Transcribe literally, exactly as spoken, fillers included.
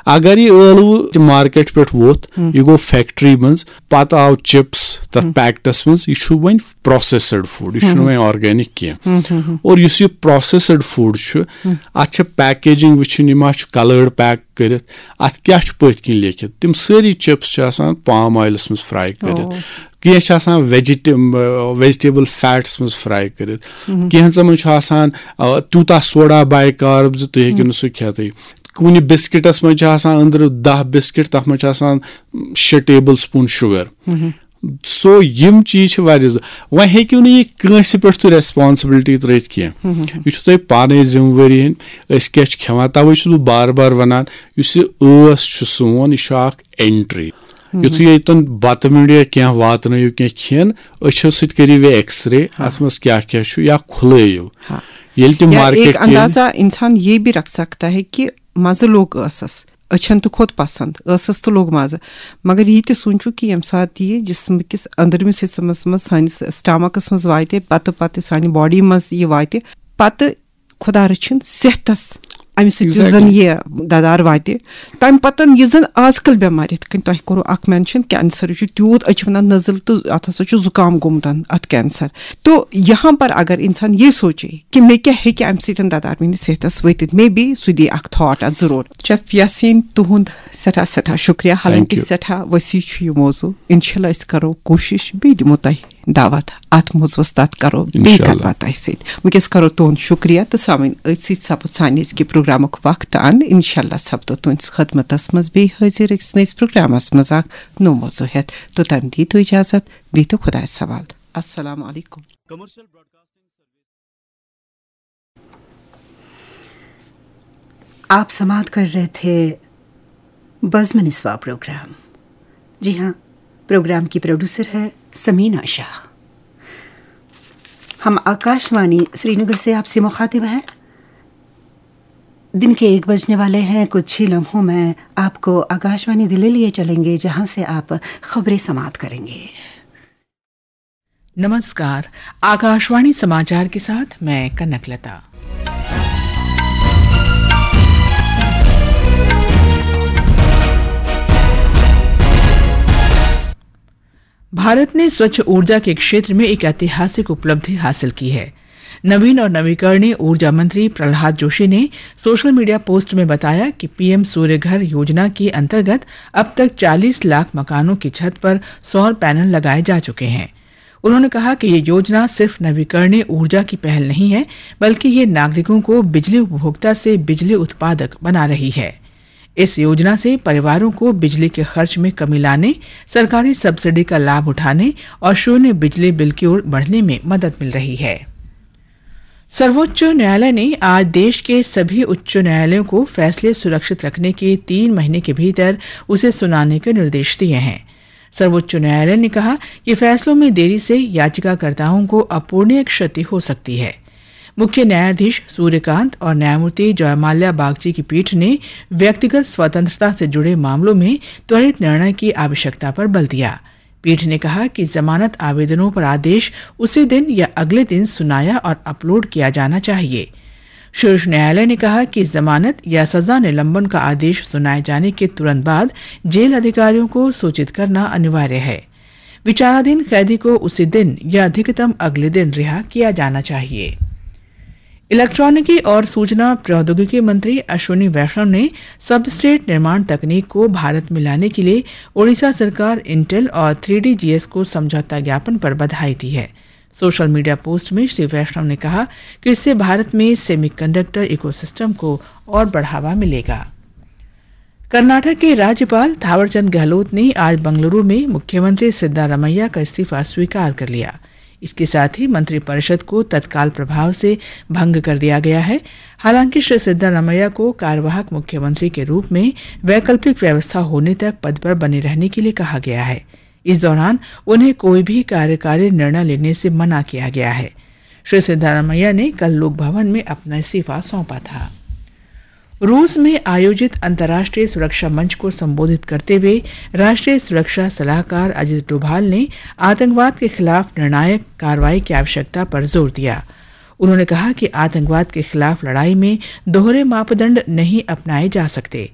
اگر یہِ ٲلوٕ تہِ مارکیٹ پٮ۪ٹھ ووٚتھ، ہم۔ یہِ گوٚو فیکٹری منٛز، پتہٕ آو چپس تتھ ہم۔ پیکٹس منٛز، یہِ چھُ وۄنۍ پروسیسڈ فوڈ، یہِ چھُنہٕ ہم۔ وۄنۍ آرگینک کینٛہہ۔ ہم، ہم، ہم۔ اور یُس یہِ پروسیسڈ فوڈ چھُ، ہم۔ اتھ چھِ پیکیجنگ وٕچھِنۍ، یہِ ما چھُ کلٲرڈ پیک کٔرِتھ، اتھ کیٛاہ چھُ پٔتھۍ کِنۍ لیکھِتھ۔ تِم سٲری چپس چھِ آسان پام آیلس منٛز فرائی کٔرِتھ۔ او۔ کینٛہہ چھِ آسان ویجیٹ-، ویجیٹیبل فیٹس منٛز فرائی کٔرِتھ۔ ہم۔ کینٛژن منٛز چھُ آسان، آ، تیوٗتاہ سوڈا بائی کارب زِ تُہۍ ہیٚکِو ہم۔ نہٕ سُہ کھٮ۪تھٕے۔ کُنہِ بسکٹس منٛز چھِ آسان أنٛدرٕ دَہ بسکٹ، تتھ منٛز چھِ آسان شےٚ ٹیبل سپوٗن شُگر۔ ہم۔ سو یِم چیٖز چھِ واریاہ زٕ-، وۄنۍ ہیٚکِو نہٕ یہِ کٲنٛسہِ پٮ۪ٹھ تُہۍ ریسپانسبلٹی ترٲوِتھ کینٛہہ۔ ہم۔ یہِ چھُ تۄہہِ پانے ذمہٕ وٲری ہٕنٛدۍ، أسۍ کیٛاہ چھِ کھٮ۪وان۔ توے چھُس بہٕ بار بار ونان، یُس یہِ ٲس چھُ سون، یہِ چھُ اکھ اینٹری۔ ہم۔ یُتھُے ییٚتٮ۪ن بتہٕ میوٚنٛڈ یا کینٛہہ واتنٲیِو، کینٛہہ کھٮ۪ن، أچھو سۭتۍ کٔرِو یہِ ایکس رے، ہاں۔ اتھ منٛز کیٛاہ کیٛاہ چھُ یا کھُلٲیِو۔ ہاں۔ ییٚلہِ تہِ یا مارکیٹ ایک کینٛہہ اندازہ انسان یہ بھی رکھ سکتا ہے کہ مزٕ لوٚگ ٲسس، أچھن تہِ کھوٚت پسند، ٲسس تہِ لوٚگ مزٕ، مگر یہِ تہِ سوٗنٛچِو کہِ ییٚمہِ ساتہٕ یہِ جسم کِس أنٛدرمِس حصس منٛز، سانِس سٹامکس منٛز واتہِ، پتہٕ پتہٕ سانہِ باڈی منٛز یہِ واتہِ، پتہٕ خۄدا رٔچھِن صحتس امہِ سۭتۍ یُس زن Exactly۔ یہِ ددار واتہِ۔ تمہِ پتہٕ یُس زن آز کل بٮ۪مارِ، یِتھ کٔنۍ تۄہہِ کوٚروٕ اکھ مینشن، کینسر چھُ تیوٗت، أسۍ چھِ ونان نزل تہٕ اتھ ہسا چھُ زُکام گوٚمُت اتھ کینسر۔ تو یہاں پر اگر انسان یہ سوچے کہ مےٚ کیٛاہ ہیٚکہِ امہِ سۭتۍ ددار میٲنِس صحتس وٲتِتھ، مے بی سُہ دی اکھ تھاٹ اتھ ضرور۔ شیف یاسین، تُہُنٛد سٮ۪ٹھاہ سٮ۪ٹھاہ شُکریہ، حالانکہ Thank you۔ سٮ۪ٹھاہ وسیع چھُ یہِ موضوع۔ انشاءاللہ أسۍ کرو کوٗشش، بیٚیہِ دِمو تۄہہِ دعوت اتھ موضوعس تحت کرو بیٚیہِ انشاءاللہ۔ کتھ باتھ تۄہہِ سۭتۍ۔ وٕنکیٚس کرو تُہُنٛد شُکریہ تہٕ سامعیٖن، أتھۍ سۭتۍ سپُد سانہِ أزکہِ پروگرامُک وقت اند۔ انشاءاللہ سپدو تُہنٛدِس خدمتس منٛز بیٚیہِ حٲضِر أکِس نٔیِس پروگرامس منٛز اکھ نوٚو موضوع ہٮ۪تھ۔ توٚتام دِیِو تُہۍ اجازت، بِہتو خۄدایس حوالہٕ۔ السلام علیکم۔ آپ سماعت کر رہے تھے بزم نسواں پروگرام۔ جی ہاں، پروگرام کی پروڈیوسر ہے سمینا شاہ۔ ہم آکاشوانی سری نگر سے آپ سے مخاطب ہیں۔ دن کے ایک بجنے والے ہیں، کچھ ہی لمحوں میں آپ کو آکاشوانی دلی لیے چلیں گے، جہاں سے آپ خبریں سماعت کریں گے۔ नमस्कार, आकाशवाणी समाचार के साथ मैं कनक लता। भारत ने स्वच्छ ऊर्जा के क्षेत्र में एक ऐतिहासिक उपलब्धि हासिल की है। नवीन और नवीकरणीय ऊर्जा मंत्री प्रहलाद जोशी ने सोशल मीडिया पोस्ट में बताया कि पीएम सूर्य घर योजना के अंतर्गत अब तक चालीस लाख मकानों की छत पर सौर पैनल लगाए जा चुके हैं। उन्होंने कहा कि ये योजना सिर्फ नवीकरणीय ऊर्जा की पहल नहीं है, बल्कि ये नागरिकों को बिजली उपभोक्ता से बिजली उत्पादक बना रही है। इस योजना से परिवारों को बिजली के खर्च में कमी लाने, सरकारी सब्सिडी का लाभ उठाने और शून्य बिजली बिल की ओर बढ़ने में मदद मिल रही है। सर्वोच्च न्यायालय ने आज देश के सभी उच्च न्यायालयों को फैसले सुरक्षित रखने के तीन महीने के भीतर उसे सुनाने के निर्देश दिए हैं। सर्वोच्च न्यायालय ने कहा कि फैसलों में देरी से याचिकाकर्ताओं को अपूरणीय क्षति हो सकती है। मुख्य न्यायाधीश सूर्यकांत और न्यायमूर्ति जयमाल्या बागची की पीठ ने व्यक्तिगत स्वतंत्रता से जुड़े मामलों में त्वरित निर्णय की आवश्यकता पर बल दिया। पीठ ने कहा कि जमानत आवेदनों पर आदेश उसी दिन या अगले दिन सुनाया और अपलोड किया जाना चाहिए। शीर्ष न्यायालय ने कहा कि जमानत या सजा निलंबन का आदेश सुनाए जाने के तुरंत बाद जेल अधिकारियों को सूचित करना अनिवार्य है। विचाराधीन कैदी को उसी दिन या अधिकतम अगले दिन रिहा किया जाना चाहिए। इलेक्ट्रॉनिकी और सूचना प्रौद्योगिकी मंत्री अश्विनी वैष्णव ने सबस्ट्रेट निर्माण तकनीक को भारत में लाने के लिए ओडिशा सरकार, इंटेल और थ्री डी जीएस को समझौता ज्ञापन पर बधाई दी है। सोशल मीडिया पोस्ट में श्री वैष्णव ने कहा कि इससे भारत में सेमीकंडक्टर इकोसिस्टम को और बढ़ावा मिलेगा। कर्नाटक के राज्यपाल थावरचंद गहलोत ने आज बंगलुरु में मुख्यमंत्री सिद्धारमैया का इस्तीफा स्वीकार कर लिया। इसके साथ ही मंत्रिपरिषद को तत्काल प्रभाव से भंग कर दिया गया है। हालांकि श्री सिद्धारमैया को कार्यवाहक मुख्यमंत्री के रूप में वैकल्पिक व्यवस्था होने तक पद पर बने रहने के लिए कहा गया है। इस दौरान उन्हें कोई भी कार्यकारी निर्णय लेने से मना किया गया है। श्री सिद्धारमैया ने कल लोक भवन में अपना इस्तीफा सौंपा था। रूस में आयोजित अंतर्राष्ट्रीय सुरक्षा मंच को संबोधित करते हुए राष्ट्रीय सुरक्षा सलाहकार अजित डोभाल ने आतंकवाद के खिलाफ निर्णायक कार्रवाई की आवश्यकता पर जोर दिया। उन्होंने कहा कि आतंकवाद के खिलाफ लड़ाई में दोहरे मापदंड नहीं अपनाए जा सकते।